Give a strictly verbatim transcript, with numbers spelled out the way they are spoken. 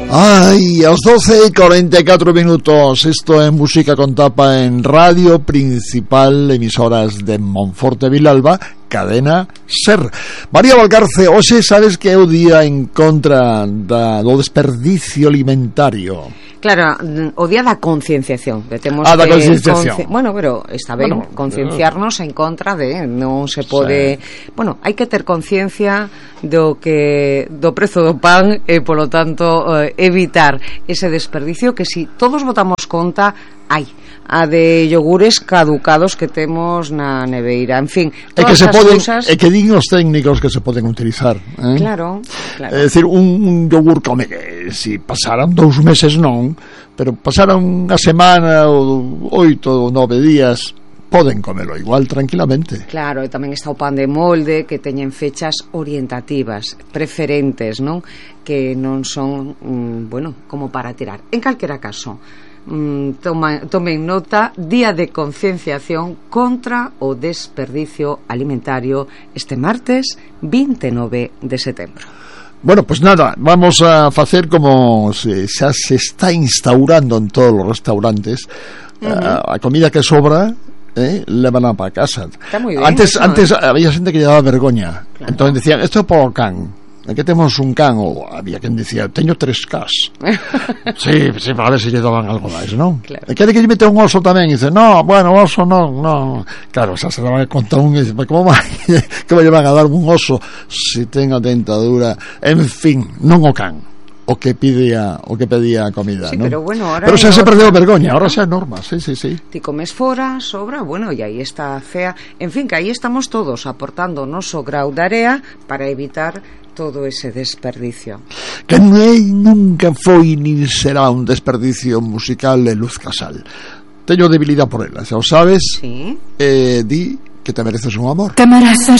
Ay, a las doce y cuarenta y cuatro minutos. Esto es Música con Tapa en Radio Principal, emisoras de Monforte Vilalba, Cadena Ser. María Valcarce, hoxe sabes que é o día en contra da, do desperdicio alimentario. Claro, o día da concienciación. Temos ah, da que concienciación. Conci... Bueno, pero está ben bueno, concienciarnos en contra de non se pode... Sí. Bueno, hai que ter conciencia do que do prezo do pan e, polo tanto, eh, evitar ese desperdicio que si todos botamos conta, hai a de yogures caducados que temos na neveira, en fin, todas e que se as poden, cousas... e que din os técnicos que se poden utilizar, eh? Claro, claro. É dicir, un, un yogur come que si pasaran dous meses non, pero pasaran unha semana ou oito ou nove días, poden comelo igual tranquilamente. Claro, e tamén está o pan de molde que teñen fechas orientativas, preferentes, non? Que non son, mm, bueno, como para tirar. En calquera caso, mm, toma, tomen nota, día de concienciación contra o desperdicio alimentario este martes vinte e nove de setembro. Bueno, pues nada, vamos a facer como se, xa se está instaurando en todos os restaurantes, uh-huh. a, a comida que sobra, eh, levan para casa. Está moi ben, antes eso, antes eh? había xente que lle daba vergoña, claro. Entón decían, esto é por can. Aquí temos un can, ou había quen dicía, teño tres cas. sí, sí, para ver se lle daban algo máis, non? Claro. E quere que lle mete un oso tamén, e dice, no, bueno, oso non, non. Claro, xa se daban a contar un, e dice, como vai, que me lle van a dar un oso se ten a dentadura, en fin, non o can. O que pedía, o que pedía a comida, sí, ¿no? pero bueno, ahora pero xa se otra... perdeu vergoña, ahora xa é norma, sí, sí, sí. Ti comes fora, sobra, bueno, e aí está fea. En fin, que aí estamos todos aportando o noso grau de area para evitar todo ese desperdicio. Que non é, nunca foi nin será un desperdicio musical de Luz Casal. Teño debilidade por ela, xa o sabes. Sí. Eh, di que te mereces un amor. Camarazas.